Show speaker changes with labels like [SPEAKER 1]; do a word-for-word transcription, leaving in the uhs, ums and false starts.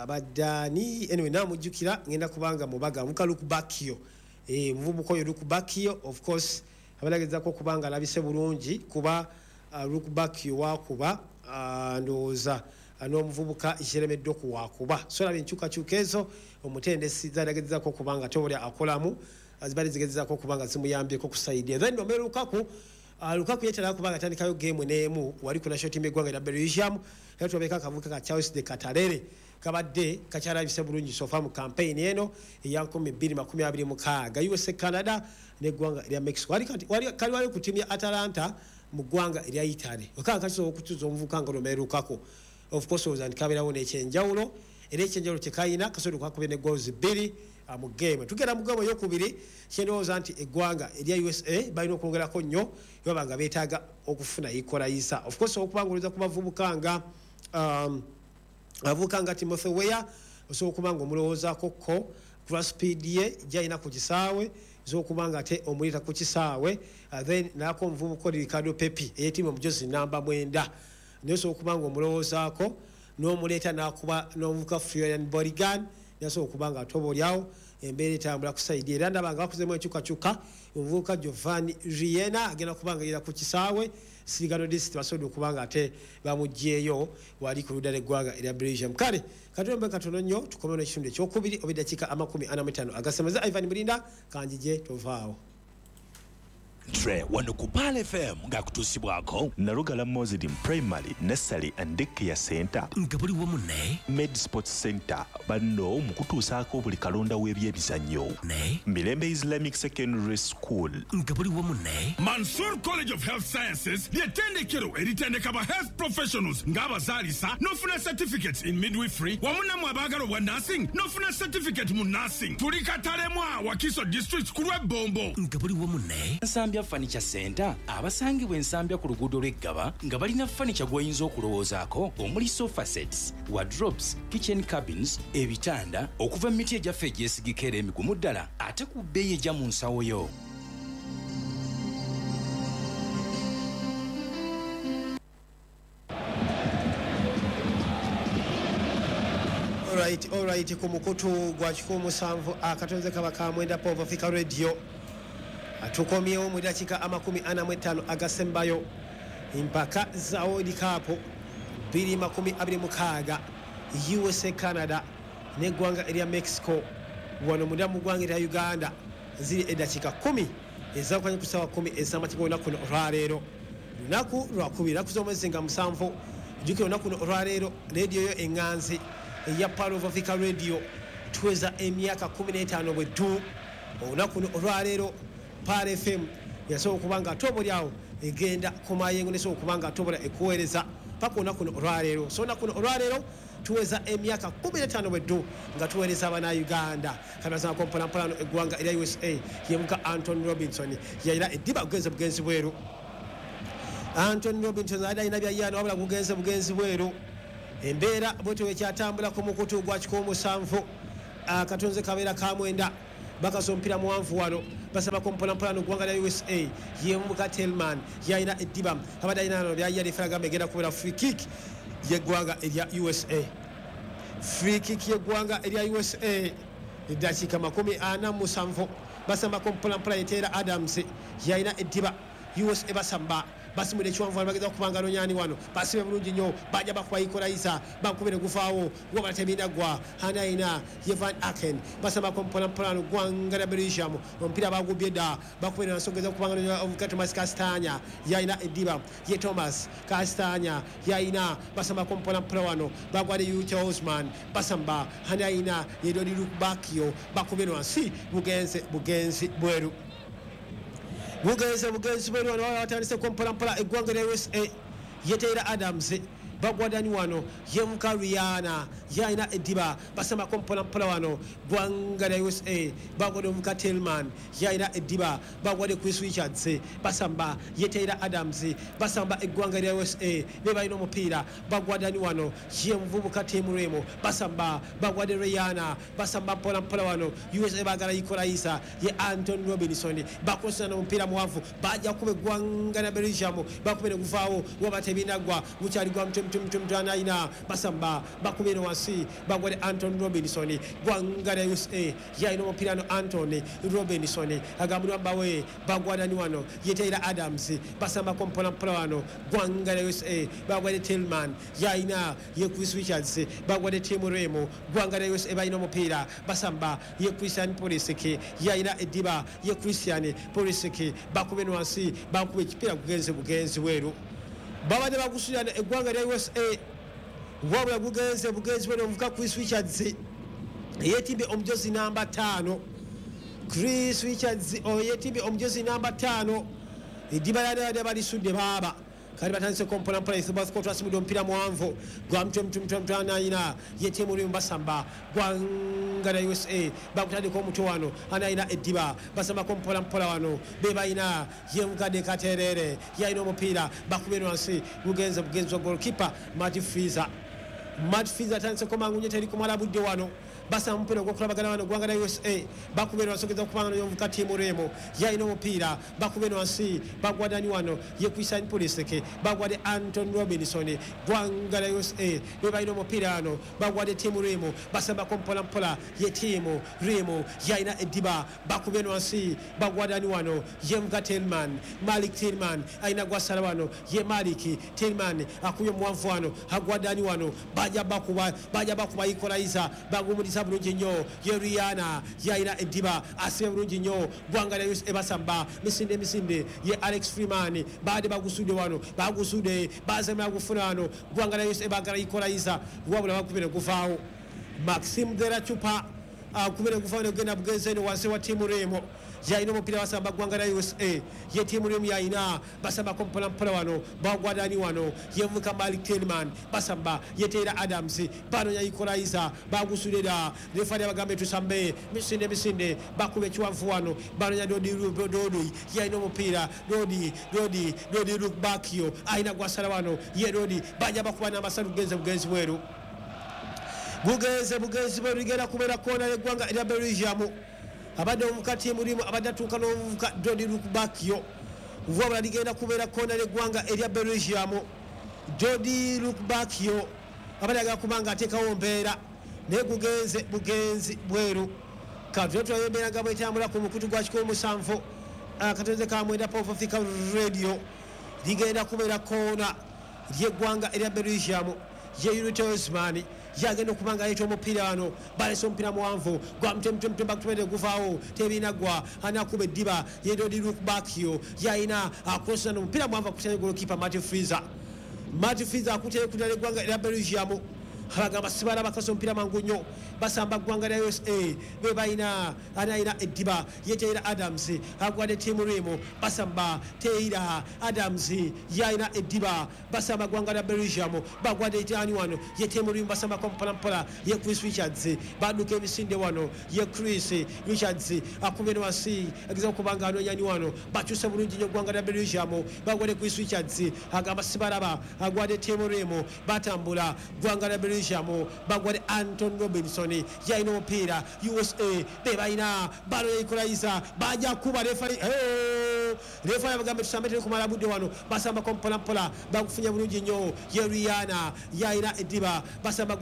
[SPEAKER 1] Abadde ani? Anyway, namujjukira, ngenda kubanga mubaga muka Lukebakio, eh muvubuka oyo Lukebakio, of course abalagezako okubanga alabise bulungi, kuba uh, Lukebakio wakuba uh, ndowooza uh, n'omuvubuka Jeremy Doku wakuba. So laba enkyukakyuka ezo omutendesi zalagezako okubanga tobuli akolamu, zibali zigezako okubanga zimuyambyeko ku side. Then Romelu Lukaku, Uh, Lukaku yetera kubanga atandikayo game n'emu wali ku national team eggwanga erya Belgium, era tulabeka akavubuka ka Charles de Ketelaere kabadde kakyalabise bulungi so far mu campaign eno eya nkumi bbiri makumi abiri mu mukaaga, U S A, Canada n'eggwanga erya Mexico. Wali kati- wali- kali wali ku ttiimu ya Atalanta mu ggwanga erya Italy. Okanga kakisobola okutuza omuvubuka nga Romelu Lukaku, of course olowooza nti kabeerawo n'ekyenjawulo, era ekyenjawulo kyekayina kasobola okwakuba ne goals bbiri ah, mu game. Tugenda mu game eyokubiri. Kyendowooza nti eggwanga erya U S A balina okwongerako nnyo baba nga beetaaga okufuna equalizer. Of course okuba nga olowooza ku bavubuka nga um, abavubuka nga Timothy Weah, osobola okuba nga omulowoozaako ko kulwa speed ye gyalina ku kisaawe, osobola okuba nga ate omuleeta ku kisaawe. uh, then naako omuvubuka oli Ricardo Pepi eyetiimu omujozi namba mwenda, naye osobola okuba nga omulowoozaako n'omuleeta n'akuba n'omuvubuka Florian Balogun, nasobola okuba nga atoba oliawo embeera etambula ku side. Era ndaba nga bakozemu enkyukakyuka, omuvubuka Giovanni Reyna agenda kuba nga yera ku kisaawe. Sergino Dest basobodde okuba nga ate bamugyeyo wali ku ludda lw'eggwanga erya Belgium. Kale katulombe katono nnyo tukomewo n'ekitundu ekyokubiri oba eddakiika amakumi ana mu ttaano agasemeza. Ivan Mulinda kanjije, tovaawo.
[SPEAKER 2] Tre wano ku Pearl F M ng'akutuusibwako
[SPEAKER 3] Nalugala Muslim Primary Nursery and Daycare Center,
[SPEAKER 2] nga buli wamu ne
[SPEAKER 3] Med Sports Center, banno mu kutuusaako buli kalonda w'ebyemizannyo,
[SPEAKER 2] ne
[SPEAKER 3] Mirembe Islamic Secondary School,
[SPEAKER 2] nga buli wamu ne
[SPEAKER 4] Mansur College of Health Sciences, ly'ettendekero eritendeka ba health professionals ng'abazaalisa n'ofuna certificates in midwifery, wamu nammwe abaagala obwa nursing n'ofuna certificate mu nursing. Tuli Katalemwa, Wakiso District, ku lw'Ebbombo.
[SPEAKER 2] Nga buli wamu ne Nsambya Furniture Center, abasangibwa Ensambya ku luguudo lw'Eggaba, nga balina furniture gw'oyinza okulowoozaako, omuli sofa sets, wardrobes, kitchen cabins, ebitanda okuva mu miti egyaffe egyesigika era emigumu ddala, ate ku bbeeyi ejja mu nsawo yo.
[SPEAKER 1] Alright, alright, ku mukutu gwa kikumi musanvu akatonze kaba ka mwenda Pov Africa Radio, tukomyewo mu dakiika amakumi ana mu ttaano agasembayo. Empaka za World Cup bbiri makumi abiri mu mukaaga, U S A, Canada n'eggwanga erya Mexico, wano munda mu ggwanga erya Uganda ziri eddakiika kumi ezawukanye ku ssaawa kumi ez'amakya olunaku luno olwaleero, lunaku lwakubiri, naku z'omwezi nga musanvu. Jjukira olunaku luno olwaleero rediyo yo eŋŋanzi eya Pearl of Africa Radio tuweza emyaka kkumi n'etaano bwe ddu. Olunaku luno olwaleero Pearl F M yasobola okuba nga ate obaoliawo egenda ku mayengo, nesobola okuba nga atobola ekuweereza paka olunaku luno olwaleero. So olunaku luno olwaleero tuweza emyaka kkumi n'etaano bweddu nga tuweereza Abanauganda. Kanazanako mpolampola eggwanga erya U S A, yemuka Anton Robinson yayira eddiba, bugenze bugenzi bweru. Anton Robinson ali alina byayana, wabula gugenze bugenzi bweru. Embeera bwetyo ekyatambula ku mukutu gwa kikumi musanvu akatonze kabeera ka mwenda. Bakasa omupiira muwanvu wano, basabako mpolampola noggwanga lya U S A, yemuka Telman yalina eddiba, abadde alina no byayia. Referee egenda kubeera free kick yeggwanga erya U S A, free kick yeggwanga erya U S A. Eddakiika makumi ana mu musanvu, basambako mpolampola, yeteera Adams yalina eddiba. U S A basamba, basimula ekiwanvu, bageza okubanga nonyani wano, basibe bulungi nnyo, bajja bakuba equalizer, bakubire guvaawo, wabala tebinagwa. Anaina ye Van Aken, basambako mpolampola no ggwanga lya Belgium, omupiira bagubye dda, bakubire nansogeza okubanga omuka Thomas Castanya yalina eddiba, ye Thomas Castanya yalina, basambako mpolampola wano, bagwade Ute Osman, basamba anaina ye Dodi Lukebakio, bakubire wansi, bugenze bugenzi bweru, bugenze bugenzi bweru. Wano batandise mpolampola eggwanga lya U S A, yeteera Adams, bagwadani wano yemuka Reyna yalina eddiba, basambako mpolampola wano gwanga lya U S A, bagwadde omuka Telman yalina eddiba, bagwadde Chris Richards, basamba yeteera Adams, basamba eggwanga lya U S A be balina omupiira, bagwadani wano ye muvubuka Tim Remo, basamba bagwadde Reyna, basamba mpolampola wano U S A bagala equalizer, ye Anton Robinson, bakosana omupiira muwanvu, bajja kuba eggwanga lya Belgium, bakubere guvaawo, waba tebinagwa, gukyali gwa mutwe. mtu anayina basamba bakubira wansi bagwade Anton Robinson gwanga lya U S A yalina omupiira no Anton Robinson agambulwa bawe bagwada ni wano ye Taylor Adams basambako mpola mpola wano gwanga lya U S A bagwade Tillman yalina ye Chris Richards bagwade Tim Remo gwanga lya U S A balina omupiira basamba ye Christian Pulisic yalina ediba ye Christian Pulisic bakube wansi bakube ekipiira gugenze bugenzi weru babadde bagusulira eggwanga lya U S A wabula gugenze bugenzi weru omuvuka Chris Richards yeetimbye omujozi namba ttaano Chris Richards yeetimbye omujozi namba ttaano eddiba lyabadde balisudde baaba kali batandise mpola mpola Ithubasco omupiira muwanvu gwa mutwe mutwe mutwe mutwe anayina ye tiimu limu basamba gwanga lya U S A bakutandika omutwe wano anayina eddiba basambako mpola mpola wano be bayina ye mukadde Katerere yalina omupiira bakubira wansi gugenze bugenzi wa goalkeeper Matt Freezer Matt Freezer atandiseko mangu nnyo teri kumala budde wano basamba omupiira ogw'okulabagana wano gwanga lya U S A bakubira wansi ogeza okubanga n'omuvuka tiimu Remo yalina omupiira bakubira wansi bagwadani wano ye Christian Pulisic bagwade Anton Robinson gwanga lya U S A be balina omupiira wano bagwade tiimu Remo basambako mpola mpola ye tiimu Remo yalina eddiba bakubira wansi bagwadani wano ye muvuka Tillman Malik Tillman alina gwasala wano ye Malik Tillman akubye omuwanvu wano agwadani wano bajja bakuba bajja bakuba equalizer bagumuliza bulungi nnyo ye Rihanna yalina eddiba asibe bulungi nnyo gwanga lya U S A basamba misinde misinde ye Alex Freeman baade bagusudde wano bagusudde bazemera gufuna wano gwanga lya U S A bagala equalizer wabula bakubire guvaawo Maxim de la Chupa akubire guvaawo negenda bugenzi eno wansi wa tiimu Remo yalina omupiira basamba gwanga lya U S A ye tiimu Remo yalina basambako mpola mpola wano bagwadani wano yevuka Malik Tillman basamba ye Taylor Adams banonya equalizer bagusulira refari abagambe tusambe misinde misinde bakube ekiwanvu wano banonya Dodi Dodi yalina omupiira Dodi Dodi Dodi Lukbakio alina gwasala wano ye Dodi bajja bakuba n'amasalu bugenzi bugenzi bweru bugenze bugenzi bweru ligenda kubeera koona y'eggwanga erya Belgium abadde omuvuka tiimu limu abadde atuuka n'omuvuka Dodi Lukbakio wabula ligenda kubeera koona y'eggwanga erya Belgium Dodi Lukbakio abadde agala kuba nga ateekawo mbeera naye gugenze bugenzi bweru katule tulabe embeera nga bwetambula ku mukutu gwa kikumi musanvu akatonze ka mwenda Pop Africa Radio ligenda kubeera koona ly'eggwanga erya Belgium ye Yuri Osman yagenda okuba nga aleeta omupiira wano balese omupiira muwanvu gwa mutwe mutwe mutwe bakutumedde guvaawo tebinaggwa anakuba eddiba ye Dodi Lukbakio yalina akrosana omupiira muwanvu akutanye golokipa Matt Freezer Matt Freezer akutanye kudala eggwanga erya Belgium abagamba sibala bakasa omupiira mangu nnyo basamba ggwanga lya U S A be balina anayina eddiba ye Taylor Adams agwadde tiimu Remo basamba Taylor Adams yalina eddiba basamba ggwanga lya Belgium bagwadde itaani wano ye tiimu Remo basambako mpola mpola ye Chris Richards badduka emisinde wano ye Chris Richards akubye wansi ageza okuba nga anoonyani wano bakyuse bulungi nnyo ggwanga lya Belgium bagwadde Chris Richards agamba sibalaba agwadde tiimu Remo batambula ggwanga lya Belgium bagwade Anton Robinson yalina omupiira U S A be balina balo equalizer bajja kuba refari refari abagambe tusambe teri kumala budde wano basambako mpola mpola bagufunye bulungi nnyo ye Rihanna yalina eddiba basamba